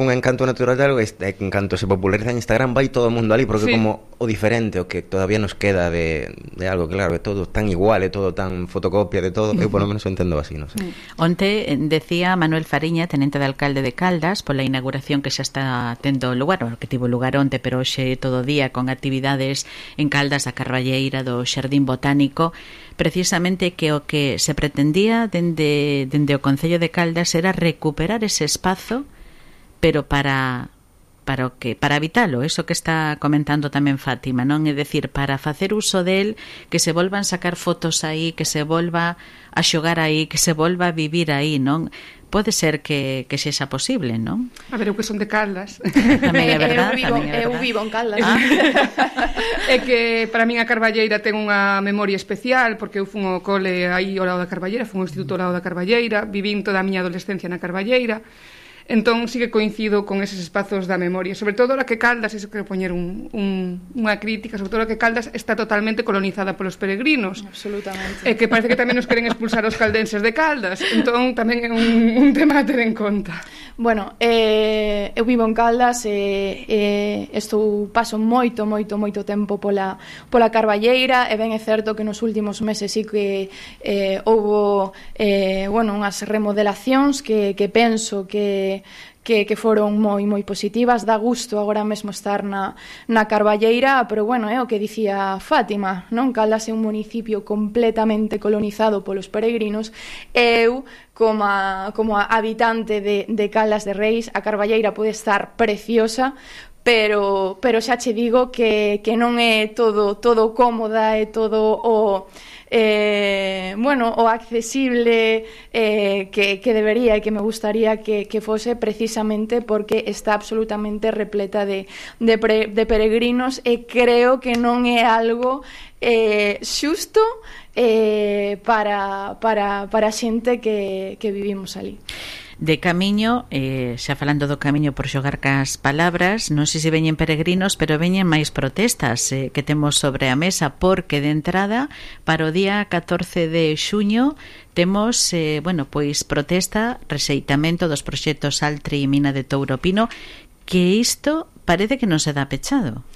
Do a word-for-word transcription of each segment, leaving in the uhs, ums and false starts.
un encanto natural de algo, este encanto se populariza en Instagram, vai todo o mundo ali, porque sí. Como o diferente, o que todavía nos queda de, de algo, claro, é todo tan igual, é todo tan fotocopia de todo, eu por lo menos o entendo así, non sei. Onte decía Manuel Fariña, tenente de alcalde de Caldas, pola inauguración que xa está tendo lugar, que tivo lugar onte, pero hoxe todo o día con actividades en Caldas da Carballeira, do Xardín Botánico, precisamente que o que se pretendía dende, dende o Concello de Caldas era recuperar ese espazo, pero para para o que para habitalo, eso que está comentando tamén Fátima, non? É dicir, para facer uso del, que se volvan sacar fotos aí, que se volva a xogar aí, que se volva a vivir aí, non? Pode ser que, que sexa posible, non? A ver, eu que son de Caldas. Tamén é verdad, eu, vivo, tamén é verdad. Eu vivo en Caldas. Ah. É que para min a Carballeira ten unha memoria especial, porque eu fun ao cole aí ao lado da Carballeira, fun ao instituto ao lado da Carballeira, vivín toda a miña adolescencia na Carballeira. Entón sí que coincido con eses espazos da memoria, sobre todo a que Caldas, iso que poñer un, un, unha crítica, sobre todo a que Caldas está totalmente colonizada polos peregrinos. Absolutamente. E que parece que tamén nos queren expulsar os caldenses de Caldas, entón tamén é un, un tema a ter en conta. Bueno, eh, eu vivo en Caldas e eh, estou paso moito, moito, moito tempo pola, pola Carballeira, e ben é certo que nos últimos meses sí que eh, houbo eh, bueno, unhas remodelacións que, que penso que Que, que foron moi moi positivas. Dá gusto agora mesmo estar na, na Carballeira, pero bueno, é o que dicía Fátima, non? Caldas é un municipio completamente colonizado polos peregrinos. Eu, como a, como a habitante de, de Caldas de Reis, a Carballeira pode estar preciosa, pero, pero xa che digo que, que non é todo, todo cómoda, é todo o... Eh, bueno, o accesible eh, que, que debería e que me gustaría que, que fose, precisamente porque está absolutamente repleta de, de, pre, de peregrinos, e creo que non é algo eh, xusto eh, para, para, para a xente que, que vivimos ali. De camiño, eh, xa falando do camiño por xogar cas palabras, non sei se veñen peregrinos, pero veñen máis protestas eh, que temos sobre a mesa, porque de entrada para o día catorce de xuño temos, eh, bueno, pois protesta, rexeitamento dos proxectos Altri e Mina de Touropino, que isto parece que non se dá pechado.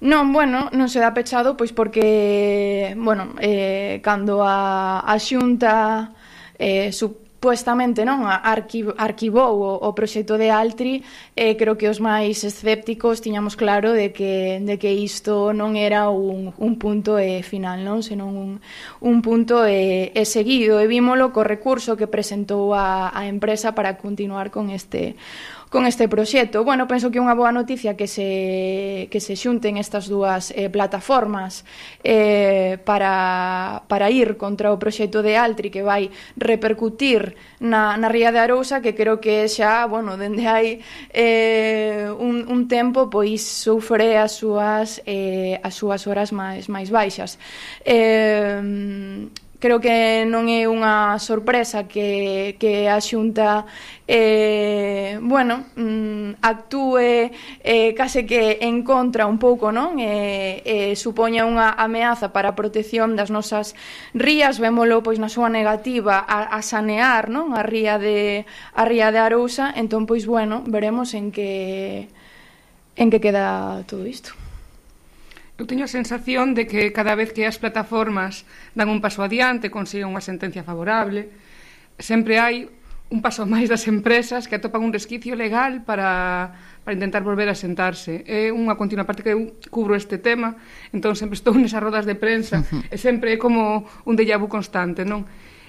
Non, bueno, non se dá pechado, pois porque, bueno, eh, cando a, a Xunta eh, su supuestamente non arquiv- arquivou o, o proxecto de Altri, eh, creo que os máis escépticos tiñamos claro de que, de que isto non era un, un punto eh, final, non? Senón un, un punto eh, eh, seguido, e vímolo co recurso que presentou a, a empresa para continuar con este con este proxecto. Bueno, penso que é unha boa noticia que se, que se xunten estas dúas eh, plataformas eh, para, para ir contra o proxecto de Altri, que vai repercutir na, na ría de Arousa, que creo que xa, bueno, dende hai eh, un, un tempo, pois sufre as súas, eh, as súas horas máis, máis baixas. Eh, Creo que non é unha sorpresa que, que a Xunta eh, bueno, mm, actúe eh, case que en contra un pouco, non? E eh, eh, supoña unha ameaza para a protección das nosas rías, vémolo pois na súa negativa a, a sanear, non? A ría de a ría de Arousa. Entón, pois bueno, veremos en que en que queda todo isto. Eu teño a sensación de que cada vez que as plataformas dan un paso adiante, consiguen unha sentencia favorable, sempre hai un paso máis das empresas que atopan un resquicio legal para, para intentar volver a sentarse. É unha continua parte que eu cubro este tema, entón sempre estou nesas rodas de prensa, e sempre é como un déjà vu constante, non?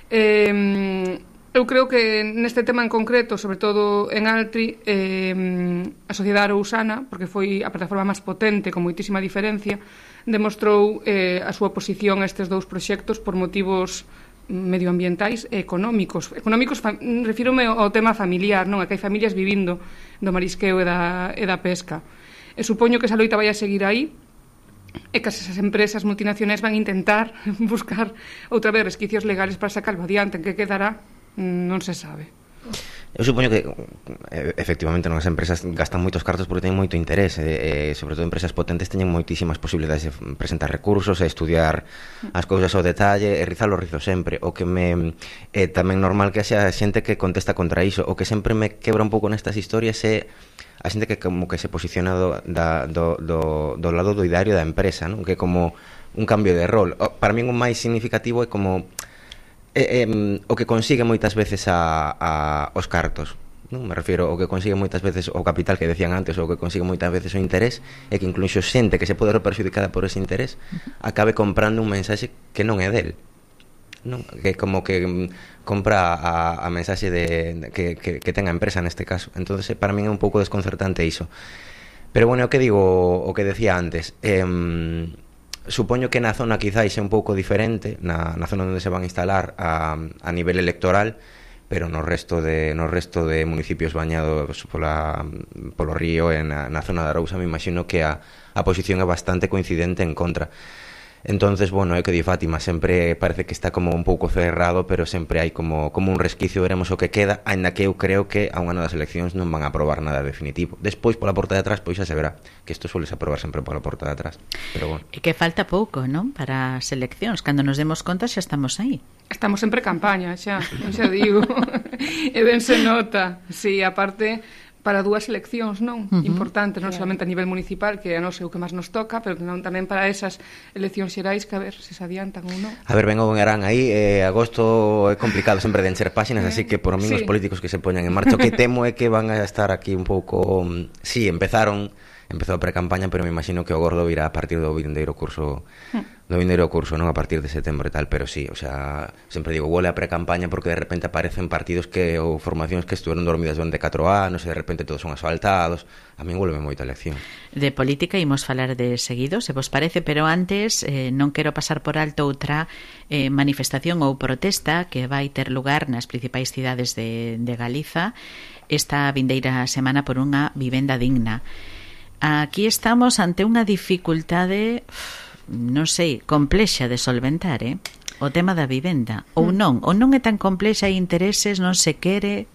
Eh, eu creo que neste tema en concreto, sobre todo en Altri, eh, a sociedade arousana, porque foi a plataforma máis potente, con moitísima diferencia, demostrou eh, a súa posición a estes dous proxectos por motivos medioambientais e económicos. Económicos, refírome ao tema familiar, non? A que hai familias vivindo do marisqueo e da, e da pesca. E supoño que esa loita vai a seguir aí, e que esas empresas multinacionais van a intentar buscar outra vez resquicios legales para sacarlo adiante. En que quedará non se sabe. Eu supoño que efectivamente non as empresas gastan moitos cartos porque teñen moito interés, e, e sobre todo empresas potentes teñen moitísimas posibilidades de presentar recursos e estudiar as cousas ao detalle e rizar o rizo sempre. O que me é tamén normal que xa xente que contesta contra iso. O que sempre me quebra un pouco nestas historias é a xente que como que se posiciona do, da, do, do, do lado do ideario da empresa, non? Que é como un cambio de rol. Para mí o máis significativo é como Eh, eh, o que consigue moitas veces a, a os cartos, non? Me refiero ao que consigue moitas veces o capital que decían antes, ou que consigue moitas veces o interés, e que incluso xente que se pode ver perxudicada por ese interés acabe comprando un mensaxe que non é del, non? Que como que mm, compra a, a mensaxe de, de que, que, que ten a empresa neste caso. Entonces para min é un pouco desconcertante iso. Pero bueno, o que digo, o que decía antes, eh, supoño que na zona quizáis é un pouco diferente, na, na zona onde se van a instalar a, a nivel electoral, pero no resto de no resto de municipios bañados pola, polo río e na, na zona da Arousa me imagino que a, a posición é bastante coincidente en contra. Entonces, bueno, é que di Fátima, sempre parece que está como un pouco cerrado, pero sempre hai como, como un resquicio, veremos o que queda, aínda que eu creo que a un ano das eleccións non van a aprobar nada definitivo. Despois, pola porta de atrás, pois xa se verá, que isto suele aprobar sempre pola porta de atrás. Pero bueno. E que falta pouco, non? Para as eleccións, cando nos demos conta xa estamos aí. Estamos sempre campaña, xa, xa digo. E ben se nota, si, sí, aparte para dúas eleccións, non? Uh-huh. Importantes, non claro. Solamente a nivel municipal, que non sei o que máis nos toca, pero non tamén para esas eleccións xerais, que a ver se se adiantan ou non. A ver, vengo en Arán aí, eh, agosto é complicado sempre de encher páxinas, eh, así que por min sí. Os políticos que se poñan en marcha, o que temo é que van a estar aquí un pouco... Sí, empezaron, empezou a pre-campaña, pero me imagino que o gordo virá a partir do vindeiro curso... Uh-huh. do vindeiro curso, non a partir de setembro e tal, pero sí, o sea, sempre digo, huele a pre-campaña porque de repente aparecen partidos que ou formacións que estuveron dormidas durante catro anos e de repente todos son asfaltados. A min vuelve moita elección. De política imos falar de seguido, se vos parece, pero antes eh, non quero pasar por alto outra eh, manifestación ou protesta que vai ter lugar nas principais cidades de, de Galiza esta vindeira semana por unha vivenda digna. Aquí estamos ante unha dificultade, non sei, complexa de solventar, eh? O tema da vivenda, ou non, ou non é tan complexa, hai intereses, non se quere.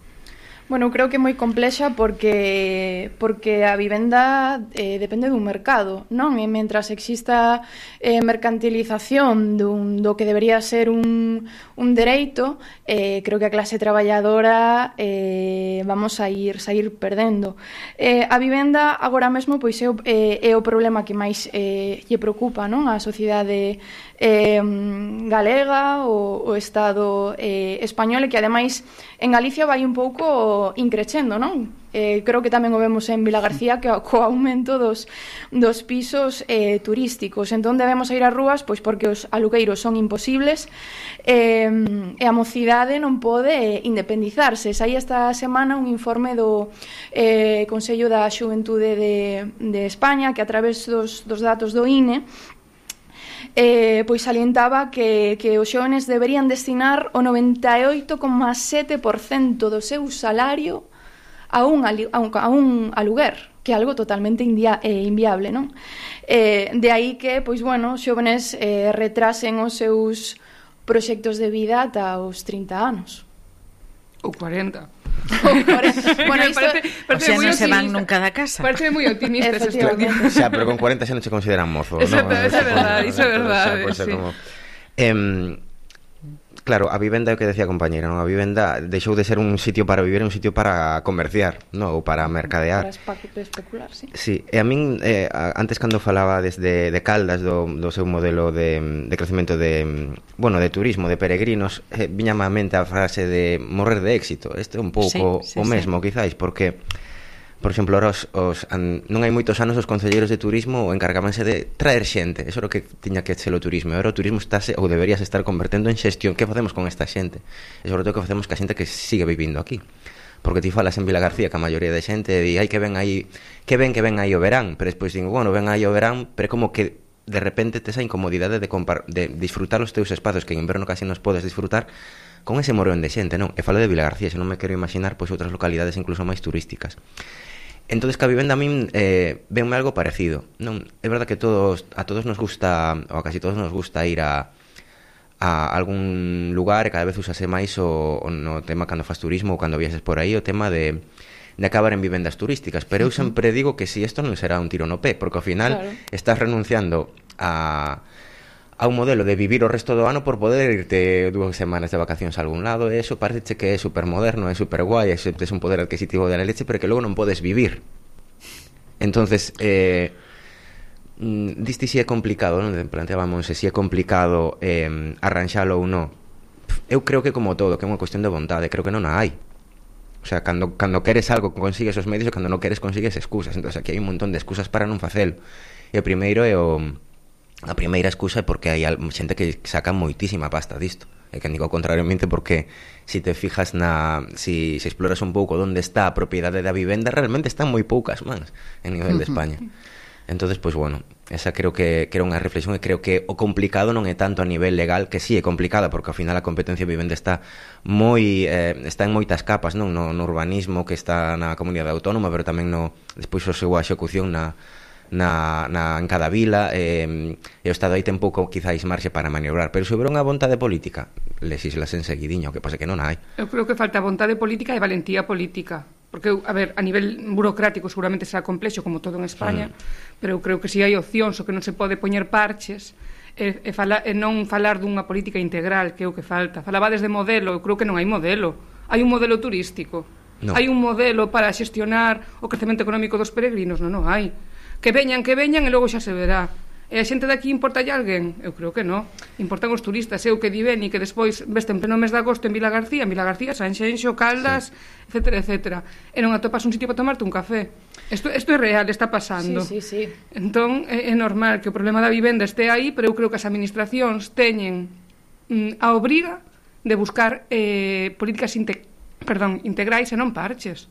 Bueno, creo que é moi complexa porque porque a vivenda eh, depende dun mercado, non? E mentras exista eh, mercantilización dun, do que debería ser un, un dereito, eh, creo que a clase traballadora eh, vamos a ir sair perdendo. Eh, a vivenda agora mesmo pois é o, eh, é o problema que máis eh, lle preocupa, non? A sociedade eh, galega, o, o Estado eh, español, e que ademais en Galicia vai un pouco increcendo, non? Eh, creo que tamén o vemos en Vilagarcía, que co aumento dos, dos pisos eh, turísticos. Entón debemos ir ás rúas, pois porque os alugueiros son imposibles eh, e a mocidade non pode independizarse. Saí esta semana un informe do eh, Consello da Xuventude de, de España, que a través dos, dos datos do I N E Eh, pois salientaba que, que os xóvenes deberían destinar o noventa e oito coma sete por cento do seu salario a un, a un, a un aluguer, que é algo totalmente india, eh, inviable, non? Eh, de aí que, pois, bueno, os xóvenes eh, retrasen os seus proxectos de vida ata os trinta anos. Ou cuarenta. Bueno, isto, parece, parece o sea, non se van nunca da casa. Parece moi optimista ese estudio. Xa, pero con cuarenta xa non se consideran mozo, exacto, ¿no? Eso é verdade, iso é verdade, pues, sí. Como... Eh, claro, a vivenda é o que decía a compañera, non? A vivenda deixou de ser un sitio para vivir, un sitio para comerciar, non? Ou para mercadear. Para especular, sí. Sí, e a min, eh, antes cando falaba desde de Caldas, do, do seu modelo de, de crecemento de, bueno, de turismo, de peregrinos, eh, viñame á mente a frase de morrer de éxito. Este é un pouco sí, sí, o mesmo, sí. Quizáis, porque... Por exemplo, ahora os, os, an, non hai moitos anos os concelleiros de turismo encargábanse de traer xente. Eso é o que tiña que ser o turismo. E agora o turismo estáse, ou deberíase estar convertendo en xestión. Que facemos con esta xente? E sobre todo que facemos ca xente que sigue vivindo aquí. Porque ti falas en Vilagarcía que a maioría de xente di, ai, que ven aí, que ven que ven aí o verán. Pero despois digo, bueno, ven aí o verán, pero como que de repente tes a incomodidade de, compar, de disfrutar os teus espacios que en inverno casi nos podes disfrutar con ese morón de xente, non? E falo de Vilagarcía, se non me quero imaginar pois outras localidades incluso máis turísticas. Entonces, que a vivenda a min eh, venme algo parecido, non? É verdad que todos a todos nos gusta, ou a casi todos nos gusta ir a a algún lugar e cada vez usase máis o, o no tema cando faz turismo ou cando viaxes por aí, o tema de, de acabar en vivendas turísticas. Pero eu sempre digo que si isto non será un tiro no pé, porque ao final claro. estás renunciando a, a un modelo de vivir o resto do ano por poder irte dúas semanas de vacacións a algún lado, e eso parece que é supermoderno, é superguai, é un poder adquisitivo de la leche, pero que logo non podes vivir. Entonces, eh, diste si é complicado, non? Planteábamos se si é complicado eh, arranxalo ou non. Eu creo que como todo, que é unha cuestión de vontade, creo que non a hai. O sea, cando, cando queres algo consigues os medios e cando non queres consigues excusas. Entón, aquí hai un montón de excusas para non facelo. E o primeiro é o... A primeira excusa é porque hai xente que saca moitísima pasta disto. E que digo contrariamente porque si te fijas na... Si, si exploras un pouco onde está a propiedade da vivenda, realmente están moi poucas mans en nivel de España. Entonces, pois, pues, bueno, esa creo que, que era unha reflexión, e creo que o complicado non é tanto a nivel legal, que sí é complicada, porque ao final a competencia de vivenda está moi eh, está en moitas capas, non? No, no urbanismo, que está na comunidade autónoma, pero tamén no despois o seu execución na, na, na, en cada vila, eh, e o Estado aí ten pouco quizáis marxe para maniobrar, pero se houber unha vontade política, legislas en seguidiño, que pasa que non hai. Eu creo que falta vontade política e valentía política. Porque, a ver, a nivel burocrático seguramente será complexo como todo en España, mm. pero eu creo que si hai opcións o que non se pode poñer parches e, e, fala, e non falar dunha política integral, que é o que falta. Falabades de modelo, eu creo que non hai modelo. Hai un modelo turístico, no. Hai un modelo para xestionar o crecemento económico dos peregrinos, non, non hai. Que veñan, que veñan e logo xa se verá. E a xente daqui importalle alguén? Eu creo que non. Importan os turistas. Eu que di ben e que despois veste en pleno mes de agosto en Vila García, en Vila García, Sanxenxo, Caldas, sí. etcétera, etcétera. E non atopas un sitio para tomarte un café. Isto, isto é real, está pasando. Sí, sí, sí. Entón, é, é normal que o problema da vivenda este aí, pero eu creo que as administracións teñen mm, a obriga de buscar eh, políticas inte, perdón, integrais e non parches.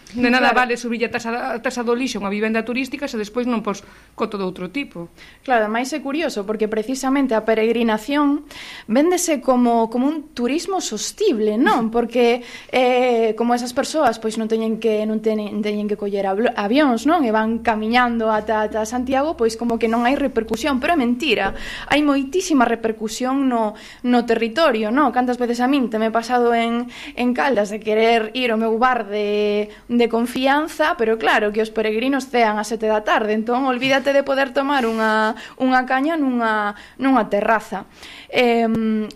De nada claro. Vale subir a tasa, a tasa do lixo unha vivenda turística se despois non pos coto de outro tipo. Claro, ademais é curioso porque precisamente a peregrinación véndese como, como un turismo sostible, non? Porque eh, como esas persoas pois non teñen que non teñen, teñen que coller avións, non? E van camiñando ata, ata Santiago, pois como que non hai repercusión, pero é mentira. Hai moitísima repercusión no, no territorio, non? Cantas veces a min te me he pasado en, en Caldas de querer ir ao meu bar de de confianza, pero claro, que os peregrinos cean a sete da tarde, entón olvídate de poder tomar unha, unha caña nunha, nunha terraza. Eh,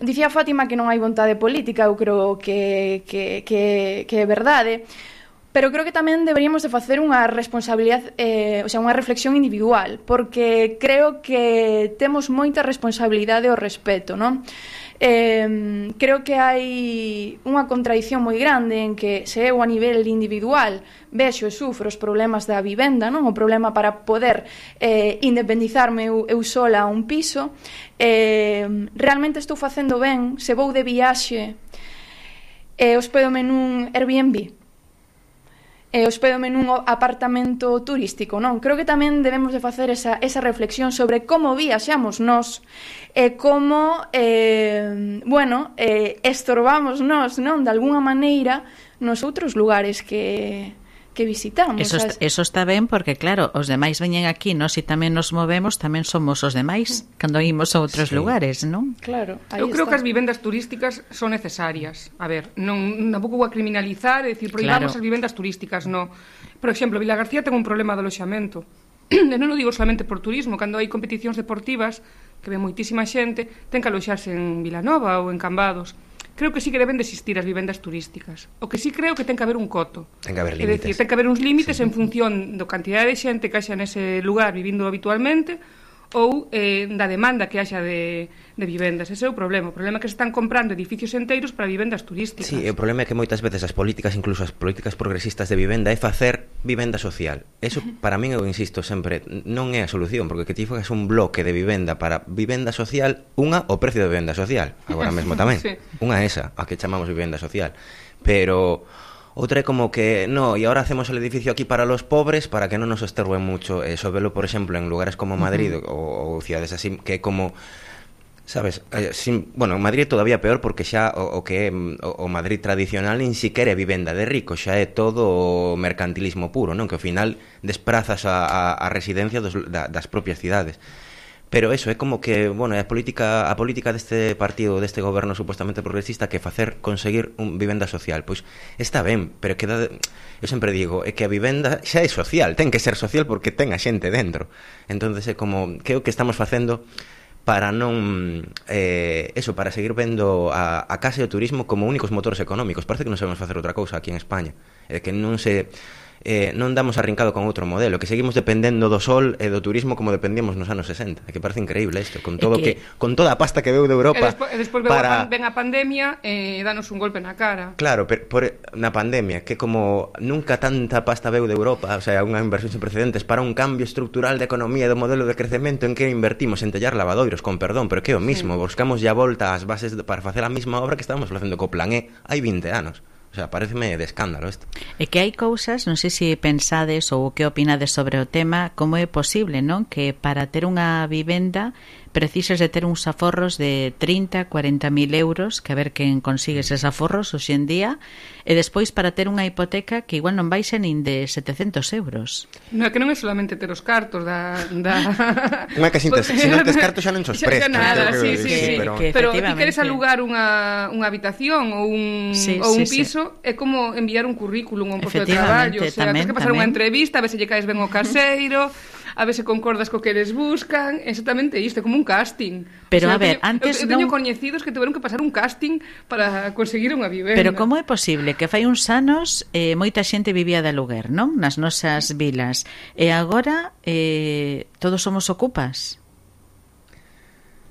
dicía Fátima que non hai vontade política, eu creo que, que, que, que é verdade, pero creo que tamén deberíamos de facer unha responsabilidade, eh, o sea, unha reflexión individual, porque creo que temos moita responsabilidade ao respecto, non? Eh, creo que hai unha contradición moi grande en que se eu a nivel individual vexo e sufro os problemas da vivenda, non? O problema para poder eh, independizarme eu, eu sola a un piso, eh, realmente estou facendo ben se vou de viaxe e hospédome nun Airbnb, e hospédome nun apartamento turístico, non? Creo que tamén debemos de facer esa, esa reflexión sobre como viaxamos nós e como, eh, bueno, eh, estorbamos nós, non? De alguna maneira nos outros lugares que... que visitamos. Eso, está, eso está ben porque, claro, os demais veñen aquí, nós e tamén nos movemos, tamén somos os demais cando imos a outros sí. lugares, non? Claro, eu creo está. Que as vivendas turísticas son necesarias. A ver, non tampouco vou a criminalizar e dicir, prohibamos claro. As vivendas turísticas, non. Por exemplo, Vila García ten un problema de aloxamento. E non o digo solamente por turismo, cando hai competicións deportivas, que ve moitísima xente, ten que aloxarse en Vilanova ou en Cambados. Creo que sí que deben de existir as vivendas turísticas. O que sí creo que ten que haber un coto. Ten que haber límites. É dicir, ten que haber uns límites sí. En función da cantidade de xente que haxa nese lugar vivindo habitualmente ou eh, da demanda que haxa de, de vivendas. Ese é o problema. O problema é que se están comprando edificios enteiros para vivendas turísticas. Sí, o problema é que moitas veces as políticas, incluso as políticas progresistas de vivenda, é facer vivenda social. Eso, para min, eu insisto sempre, non é a solución, porque que ti fagas un bloque de vivenda para vivenda social, unha, o precio de vivenda social, agora mesmo tamén. Sí. Unha esa, a que chamamos vivenda social. Pero... outra é como que, no, y ahora hacemos el edificio aquí para los pobres para que non nos estorben mucho. Eso velo, por exemplo, en lugares como Madrid uh-huh. o, o ciudades así, que como, sabes, eh, sin, bueno, en Madrid todavía peor porque xa o, o que é o, o Madrid tradicional nin siquiera é vivenda de rico, xa é todo mercantilismo puro, non? Que ao final desprazas a, a, a residencia dos, da, das propias cidades. Pero eso, é como que, bueno, a política a política deste partido, deste goberno supuestamente progresista, que facer conseguir un vivenda social, pois está ben, pero queda de, eu sempre digo, é que a vivenda xa é social, ten que ser social porque ten a xente dentro. Entonces é como, que é o que estamos facendo para non eh, eso, para seguir vendo a, a casa e o turismo como únicos motores económicos. Parece que non sabemos facer outra cousa aquí en España, é que non se Eh, non damos arrincado con outro modelo, que seguimos dependendo do sol e do turismo como dependíamos nos anos sesenta. É que parece increíble isto, con todo que... que con toda a pasta que veu de Europa. E despois para... ven a pandemia e eh, danos un golpe na cara. Claro, pero por, na pandemia, que como nunca tanta pasta veu de Europa, o sea, unha inversión sin precedentes para un cambio estructural de economía e do modelo de crecemento, en que invertimos en tellar lavadoiros, con perdón, pero que é o mismo, sí. Buscamos ya volta ás bases para facer a mesma obra que estábamos facendo co Plan E hai vinte anos. O sea, pareceme de escándalo isto. É que hai cousas, non sei se pensades ou que opinades sobre o tema, como é posible, non? Que para ter unha vivenda precisas de ter uns aforros de trinta, cuarenta mil euros, que a ver quen consigue eses aforros hoxe en día, e despois para ter unha hipoteca que igual non baixa nin de setecentos euros. Non é que non é solamente ter os cartos da... da... Unha que sin, se non tes cartos xa non sos presto. Xa nada, sí, sí, sí. Pero, pero ti queres alugar unha, unha habitación ou un, sí, ou un sí, piso, sí. É como enviar un currículum, un posto de traballo, o sea, tens que pasar unha entrevista, a ver se lle caes ben o caseiro, a ver se concordas co que eles buscan, exactamente isto, é como un casting. Pero o sea, a ver, teño, antes eu, eu teño non... coñecidos que tiveron que pasar un casting para conseguir unha vivenda. Pero como é posible que fai uns anos eh, moita xente vivía de aluguer, non? Nas nosas vilas. E agora eh, todos somos ocupas?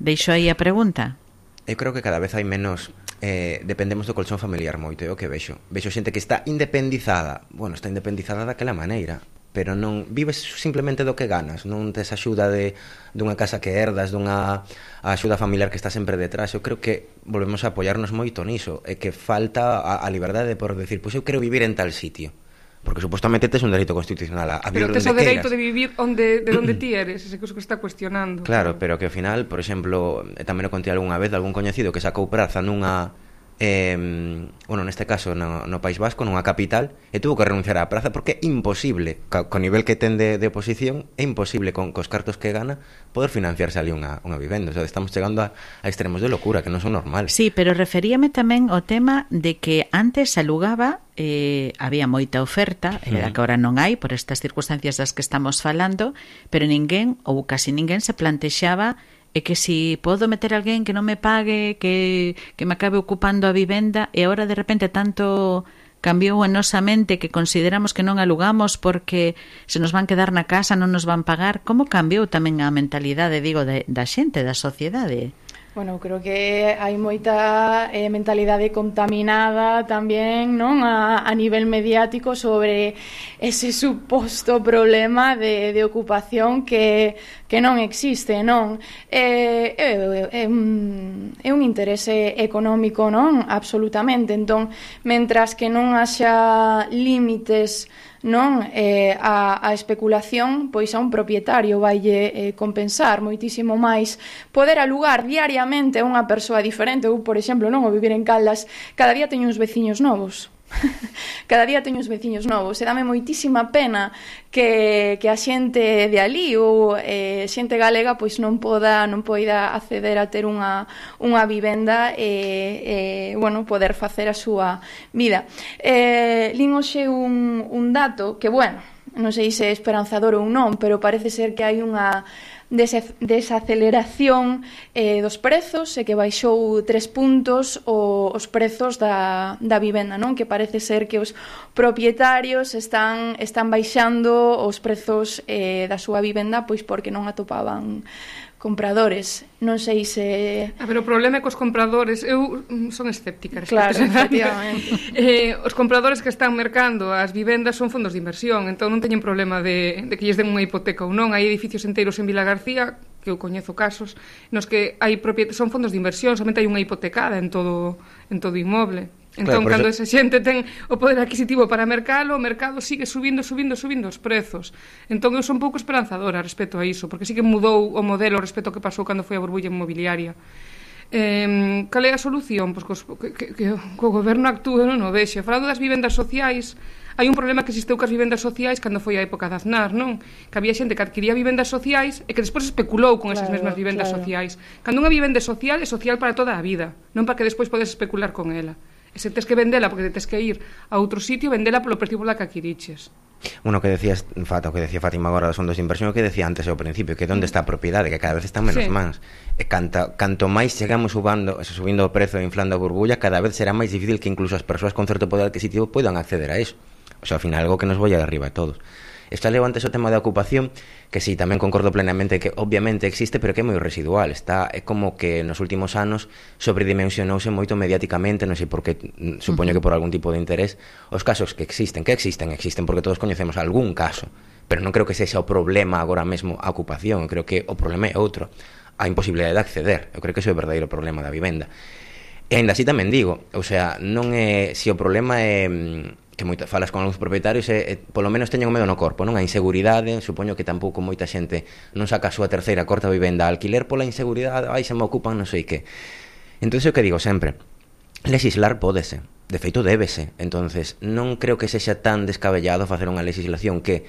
Deixo aí a pregunta. Eu creo que cada vez hai menos... Eh, dependemos do colchón familiar moito, é o que vexo. Vexo xente que está independizada. Bueno, está independizada daquela maneira, pero non vives simplemente do que ganas, non tes axuda de dunha casa que herdas, dunha axuda familiar que está sempre detrás. Eu creo que volvemos a apoiarnos moito niso, e que falta a, a liberdade por decir, pois eu quero vivir en tal sitio, porque supostamente tes un dereito constitucional a, a vivir onde queiras. Pero tes o dereito de vivir onde, de onde ti eres, ese que está cuestionando. Claro, pero que ao final, por exemplo, tamén o contei algunha vez de algún coñecido que sacou praza nunha eh, bueno, neste caso no, no País Vasco, nunha capital, e tuvo que renunciar á praza porque é imposible, co, co nivel que ten de, de oposición, é imposible con cos cartos que gana poder financiarse ali unha, unha vivenda. O sea, estamos chegando a, a extremos de locura que non son normales. Sí, pero referíame tamén ao tema de que antes se alugaba, eh, había moita oferta, e mm. que agora non hai por estas circunstancias das que estamos falando, pero ninguén, ou casi ninguén, se plantexaba é que si podo meter a alguén que non me pague, que, que me acabe ocupando a vivenda, e agora de repente tanto cambiou en nosa mente que consideramos que non alugamos porque se nos van quedar na casa, non nos van pagar. Como cambiou tamén a mentalidade, digo, de, da xente, da sociedade? Bueno, creo que hai moita eh, mentalidade contaminada tamén, non, a, a nivel mediático sobre ese suposto problema de, de ocupación que, que non existe, non? É, é, é, un, é un interese económico, non? Absolutamente. Entón, mentras que non haxa límites, non, eh, a, a especulación, pois a un propietario vaille eh, compensar moitísimo máis poder alugar diariamente a unha persoa diferente. Ou, por exemplo, non, o vivir en Caldas, cada día teño uns veciños novos. Cada día teño uns veciños novos, e dame moitísima pena que, que a xente de ali ou eh, xente galega pois non poda non poida acceder a ter unha, unha vivenda e, e bueno, poder facer a súa vida. Eh, lin hoxe un, un dato que, bueno, non sei se é esperanzador ou non, pero parece ser que hai unha desaceleración eh, dos prezos e que baixou tres puntos o, os prezos da, da vivenda, non? Que parece ser que os propietarios están, están baixando os prezos eh, da súa vivenda pois porque non atopaban compradores. Non sei se... A ver, o problema é que os compradores... Eu son escéptica. Claro, efectivamente. eh, os compradores que están mercando as vivendas son fondos de inversión, entón non teñen problema de, de que lles den unha hipoteca ou non. Hai edificios enteiros en Vila García, que eu coñezo casos, nos que hai propiet... son fondos de inversión, somente hai unha hipotecada en todo, en todo inmoble. Entón, claro, cando eso... esa xente ten o poder adquisitivo para mercalo, o mercado sigue subindo, subindo, subindo os prezos. Entón, eu son un pouco esperanzadora respecto a iso, porque sí que mudou o modelo respecto ao que pasou cando foi a burbulla inmobiliaria. Eh, cal é a solución? Pois que, que, que, que o goberno actúe, non o vexe. Falando das vivendas sociais, hai un problema que existeu cas vivendas sociais cando foi a época de Aznar, non? Que había xente que adquiría vivendas sociais e que despois especulou con esas claro, mesmas vivendas claro. sociais. Cando unha vivenda social é social para toda a vida, non para que despois podes especular con ela. E se tes que vendela porque tes que ir a outro sitio, vendela polo precio pola que adquiriches. Bueno, que decías, Fata, o que decía Fátima agora dos fondos de inversión, o que decía antes ao principio, que onde está a propiedade, que cada vez están menos sí. mans. E canta, canto máis chegamos subando, subindo o prezo e inflando a burbulla, cada vez será máis difícil que incluso as persoas con certo poder adquisitivo poidan acceder a eso. O sea, ao final, algo que nos voy a arriba a todos. Está leo antes o tema da ocupación, que sí, tamén concordo plenamente que obviamente existe, pero que é moi residual. Está, é como que nos últimos anos sobredimensionouse moito mediáticamente, non sei por que, supoño que por algún tipo de interés, os casos que existen, que existen, existen porque todos coñecemos algún caso, pero non creo que sexa o problema agora mesmo a ocupación, creo que o problema é outro, a imposibilidade de acceder. Eu creo que ese é o verdadeiro problema da vivenda. E ainda así tamén digo, o sea, non é, se o problema é que moita, falas con algúns propietarios e, e polo menos teñen o medo no corpo, non? A inseguridade, supoño que tampouco moita xente non saca a súa terceira, corta vivenda a alquiler pola inseguridade, ai, se me ocupan non sei que. Entón, o que digo sempre, legislar pódese, de feito débese, entonces non creo que sexa tan descabellado facer unha legislación que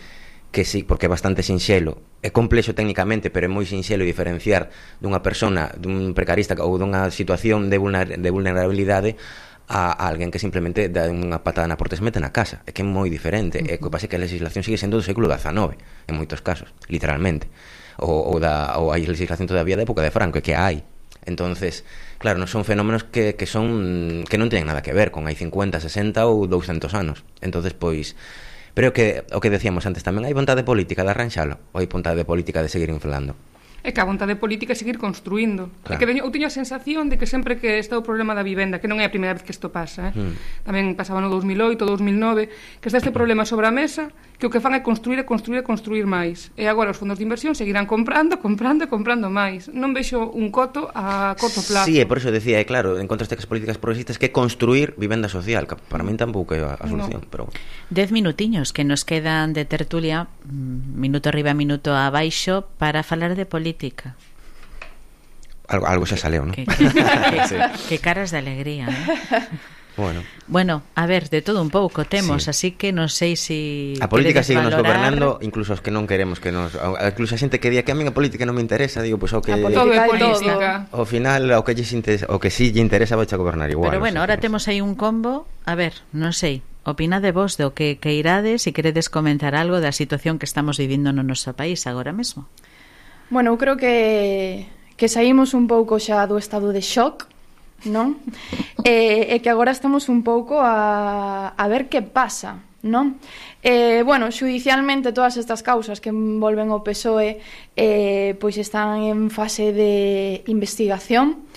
que sí, porque é bastante sinxelo, é complexo técnicamente, pero é moi sinxelo diferenciar dunha persona, dun precarista ou dunha situación de, vulner, de vulnerabilidade a, a alguén que simplemente dá unha patada na porta e se mete na casa. É que é moi diferente. Uh-huh. É que pasa que a legislación sigue sendo do século dezanove, en moitos casos, literalmente. Ou, ou, da, ou hai legislación todavía da época de Franco, é que hai. Entonces, claro, non son fenómenos que, que son que non teñen nada que ver con hai cincuenta, sesenta ou douscentos anos. Entonces, pois, pero que o que decíamos antes tamén, hai vontade política de arranxalo ou hai vontade política de seguir inflando? É que a vontade política é seguir construindo. Claro. É que eu teño a sensación de que sempre que está o problema da vivenda, que non é a primeira vez que isto pasa, eh? mm. tamén pasaba no dous mil oito, dous mil nove, que está este problema sobre a mesa, que o que fan é construir e construir e construir máis. E agora os fondos de inversión seguirán comprando, comprando e comprando máis. Non vexo un coto a corto plazo. Sí, e por eso decía, é claro, en contra das políticas progresistas, que construir vivenda social, que para min tampouco é a, a solución. No. Pero... Dez minutiños que nos quedan de tertulia, minuto arriba, minuto abaixo, para falar de política. Algo, algo xa saleu, non? Que, que, que, sí. que caras de alegría, ¿eh? Bueno. Bueno, a ver, de todo un pouco temos, sí. así que non sei se si a política sigue nos valorar... gobernando, incluso os que non queremos que nos, incluso a xente que di que a min a política non me interesa, digo, pois pues, o que todo é política. Ao final o que lles interesa, o que si lle interesa vai a gobernar igual. Pero bueno, o sea, ahora temos aí un combo, a ver, non sei. Opinade vos do que que irades e queredes comentar algo da situación que estamos vivindo no noso país agora mesmo. Bueno, eu creo que que saímos un pouco xa do estado de shock, non? E, e que agora estamos un pouco a, a ver que pasa, non? Eh, bueno, xudicialmente todas estas causas que envolven o P S O E eh, pois están en fase de investigación.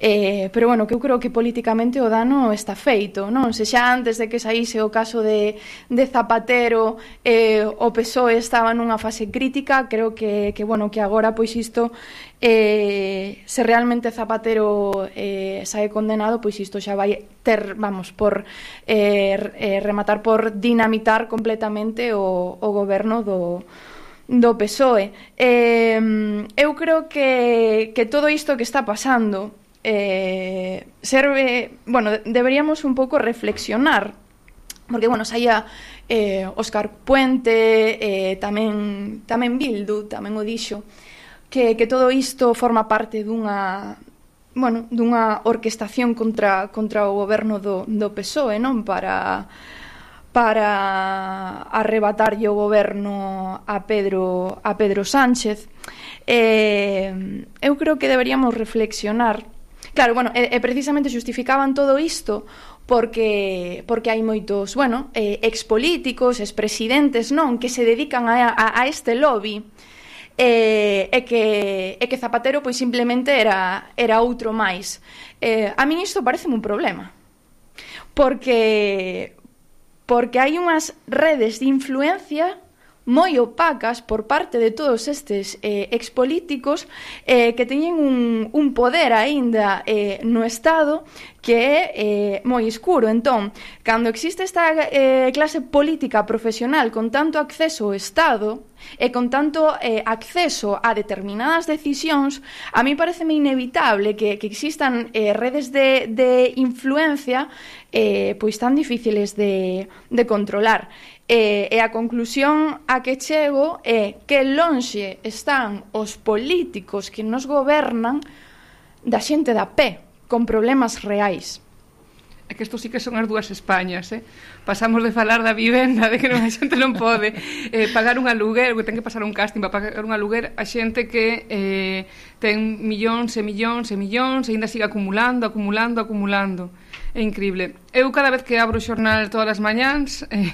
Eh, pero bueno, que eu creo que políticamente o dano está feito, non? Se xa antes de que saíse o caso de, de Zapatero eh, o P S O E estaba nunha fase crítica, creo que, que bueno, que agora pois isto eh, se realmente Zapatero eh, sae condenado, pois isto xa vai ter, vamos, por eh, eh, rematar por dinamitar completamente o, o goberno do do P S O E. Eh, eu creo que, que todo isto que está pasando Eh, serve, bueno, deberíamos un pouco reflexionar, porque, bueno, saía eh, Óscar Puente, eh, tamén tamén Bildu, tamén o dixo, que, que todo isto forma parte dunha, bueno, dunha orquestación contra, contra o goberno do, do P S O E, non? Para para arrebatarlle o goberno a Pedro a Pedro Sánchez. Eh, eu creo que deberíamos reflexionar. Claro, bueno, e, e precisamente justificaban todo isto porque porque hai moitos, bueno, eh, expolíticos, expresidentes, non, que se dedican a, a, a este lobby. Eh, e que e que Zapatero pois simplemente era era outro máis. Eh, a min isto pareceme un problema. Porque porque hai unhas redes de influencia moi opacas por parte de todos estes eh, expolíticos eh, que teñen un, un poder aínda eh, no Estado que é eh, moi escuro. Entón, cando existe esta eh, clase política profesional con tanto acceso ao Estado e con tanto eh, acceso a determinadas decisións, a mí pareceme inevitable que, que existan eh, redes de, de influencia eh, pois tan difíciles de, de controlar. E, e a conclusión a que chego é que lonxe están os políticos que nos gobernan da xente da pé, con problemas reais. É que isto sí que son as dúas Españas, eh? Pasamos de falar da vivenda, de que non, a xente non pode eh, pagar un aluguer, que ten que pasar un casting para pagar un aluguer, a xente que eh, ten millóns e millóns e millóns e ainda sigue acumulando, acumulando, acumulando. É increíble. Eu cada vez que abro o xornal todas as mañáns eh,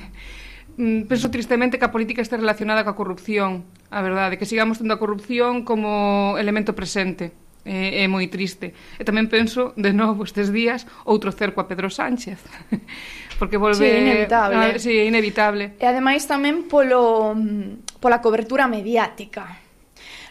penso tristemente que a política este relacionada coa corrupción, a verdade, que sigamos tendo a corrupción como elemento presente. É, é moi triste. E tamén penso, de novo, estes días, outro cerco a Pedro Sánchez. Porque volve... Sí, inevitable. A, sí, inevitable. E ademais tamén polo, pola cobertura mediática.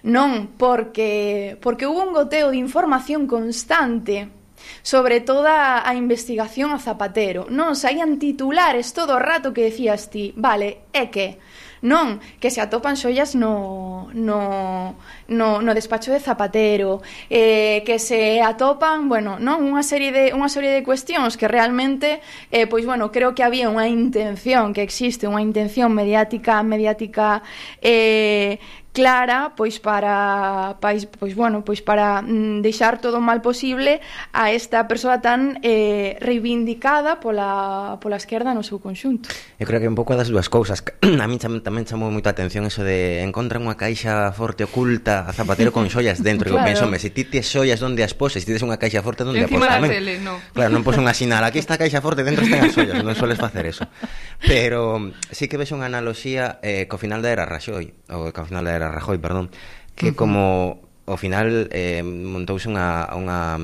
Non porque, porque hubo un goteo de información constante sobre toda a investigación a Zapatero. Non saían titulares todo o rato que decías ti, vale, é que... Non, que se atopan xollas no, no, no, no despacho de Zapatero, eh, que se atopan, bueno, non, unha serie de unha serie de cuestións que realmente, eh, pois bueno, creo que había unha intención, que existe unha intención mediática, mediática eh, clara, pois para, pois, pois bueno, pois para mm, deixar todo o mal posible a esta persoa tan eh, reivindicada pola, pola esquerda no seu conxunto. Eu creo que un pouco das dúas cousas. A mí cham, tamén chamou moita atención eso de encontran unha caixa forte oculta a Zapatero con xollas dentro. Claro. Eu penso, se ti tes xollas onde as poses, se ti tes unha caixa forte onde a poses tamén. Tele, no. Claro, non pos unha sinal, aquí está a caixa forte, dentro están as xollas, non soles facer eso. Pero sí que ves unha analoxía eh, co final da era Rajoy, ou co final da era Rajoy, perdón, que uh-huh. como ao final eh, montouse unha, unha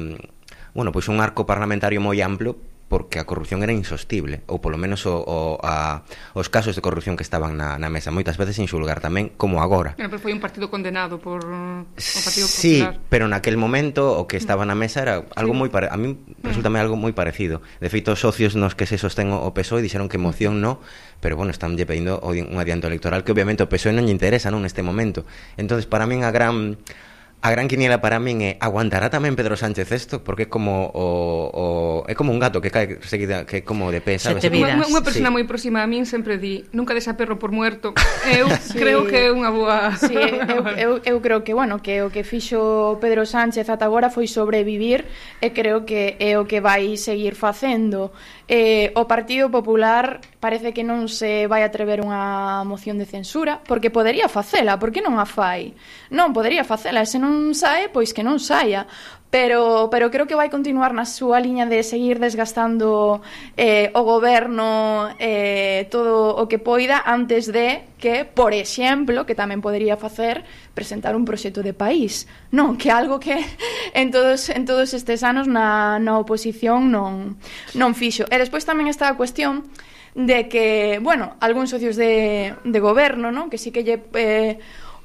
bueno, pois un arco parlamentario moi amplo porque a corrupción era insostible, ou polo menos o, o, a, os casos de corrupción que estaban na, na mesa, moitas veces sin xulgar tamén, como agora. Pero foi un partido condenado por o Partido Popular. Sí, pero naquel momento o que estaba na mesa era algo sí. moi pare... a mí resultame algo moi parecido. De feito, os socios nos que se sostén o P S O E dixeron que moción no, pero bueno, están lle pedindo un adianto electoral que obviamente o P S O E non lle interesa non neste momento. Entonces, para min a gran... A gran quiniela para min é aguantará tamén Pedro Sánchez isto, porque é como o, o é como un gato que cae seguida, que é como de pé, sabes? Unha, unha persona sí. moi próxima a min sempre di, nunca des a perro por muerto. Eu sí. creo que é unha boa. Sí, eu, eu, eu creo que, bueno, que o que fixo Pedro Sánchez ata agora foi sobrevivir e creo que é o que vai seguir facendo. Eh, o Partido Popular parece que non se vai atrever unha moción de censura porque podería facela, por que non a fai? Non, podería facela, se non sae, pois que non saia, pero, pero creo que vai continuar na súa liña de seguir desgastando eh, o goberno eh, todo o que poida antes de que, por exemplo, que tamén podería facer, presentar un proxecto de país. Non, que algo que en todos, en todos estes anos na, na oposición non, non fixo. E despois tamén está a cuestión de que, bueno, algúns socios de, de goberno, non? Que sí que lle... Eh,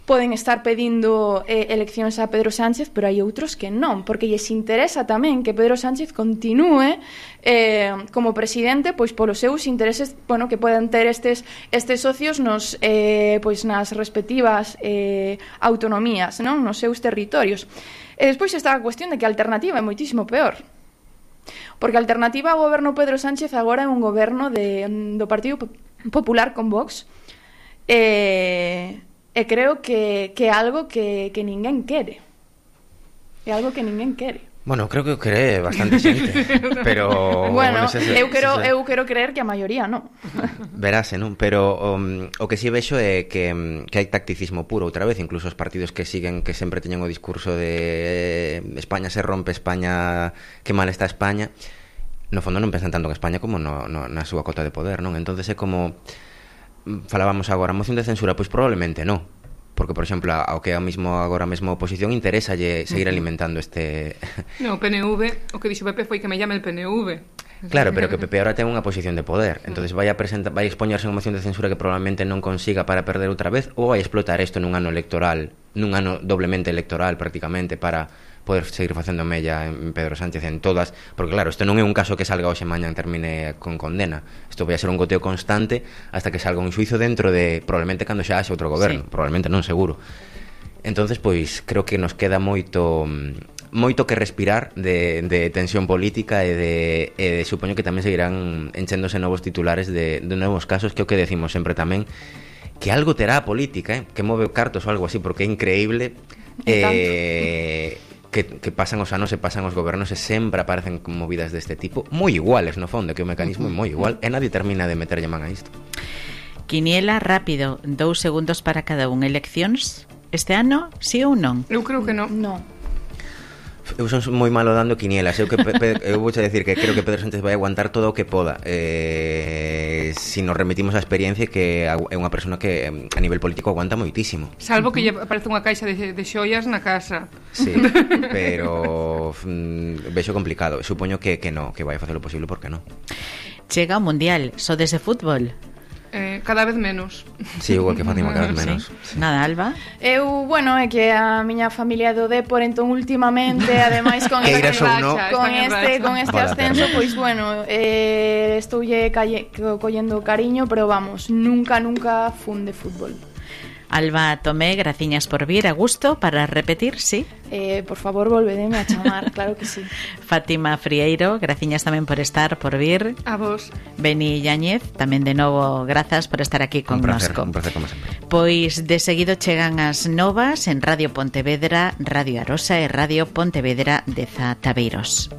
poden estar pedindo eh, eleccións a Pedro Sánchez, pero hai outros que non, porque lles interesa tamén que Pedro Sánchez continúe eh, como presidente, pois polos seus intereses, bueno, que poden ter estes estes socios nos eh, pois nas respectivas eh, autonomías, non, nos seus territorios. E despois está a cuestión de que a alternativa é moitísimo peor. Porque a alternativa ao goberno Pedro Sánchez agora é un goberno de, do Partido Popular con Vox. Eh... E creo que, que é algo que, que ninguén quere. É algo que ninguén quere. Bueno, creo que o cree bastante xente, pero... Bueno, bueno ese, eu, quero, ese... eu quero creer que a maioría non. Verase, non? Pero um, o que si vexo é que, que hai tacticismo puro outra vez, incluso os partidos que siguen, que sempre teñen o discurso de España se rompe, España, que mal está España, no fondo non pensan tanto en España como no, no, na súa cota de poder, non? Entonces é como... Falábamos agora, moción de censura, pois probablemente non, porque, por exemplo, ao que é mismo agora mesmo a oposición interesa lle seguir alimentando este... No, o P N V, o que dixo Pepe foi que me llame el P N V. Claro, pero que Pepe ahora ten unha posición de poder, entonces vai a presentar, vai a expoñerse unha moción de censura que probablemente non consiga para perder outra vez, ou vai a explotar isto nun ano electoral, nun ano doblemente electoral prácticamente, para poder seguir facendo mella en Pedro Sánchez en todas, porque claro, isto non é un caso que salga hoxe mañá e termine con condena, isto vai a ser un goteo constante hasta que salga un xuizo dentro de, probablemente cando xa haxe outro goberno, sí. Probablemente non seguro. Entonces, pois, creo que nos queda moito moito que respirar de, de tensión política e de, e de supoño que tamén seguirán enchéndose novos titulares de, de novos casos, que é o que decimos sempre tamén, que algo terá a política, eh? Que move cartos ou algo así, porque é increíble eh, que, que pasan os anos e pasan os gobernos e sempre aparecen movidas deste tipo, moi iguales no fondo, que o mecanismo é moi igual e nadie termina de meterlle man a isto. Quiniela rápido, dous segundos para cada un. Eleccións este ano, sí ou non? Eu creo que non. No. Eu son moi malo dando quinielas. Eu, que, pe, eu vou a decir que creo que Pedro Sánchez vai aguantar todo o que poda. Eh, si nos remitimos á experiencia, que é unha persona que a nivel político aguanta moitísimo. Salvo que lle aparece unha caixa de, de xoias na casa. Sí, pero mm, vexo complicado. Supoño que, que no, que vai a facer o posible porque non. Chega o Mundial, sodes de fútbol? Eh, cada vez menos. Sí, igual que Fátima, cada vez menos. Sí. Sí. Nada, Alba? Eu, bueno, é que a miña familia é do Depor, entón últimamente, ademais con que este, irás ou no. con este, con este Vale, ascenso, pero... pois bueno, eh, estoulle calle, collendo cariño, pero vamos, nunca, nunca fun de fútbol. Alba Tomé, graciñas por vir, a gusto, para repetir, sí? Eh, por favor, volvedeme a chamar, claro que sí. Fátima Frieiro, graciñas tamén por estar, por vir. A vos. Beni Yáñez, tamén de novo, grazas por estar aquí con un placer, nosco. un placer como sempre. Pois de seguido chegan as novas en Radio Pontevedra, Radio Arosa e Radio Pontevedra de Zataveiros.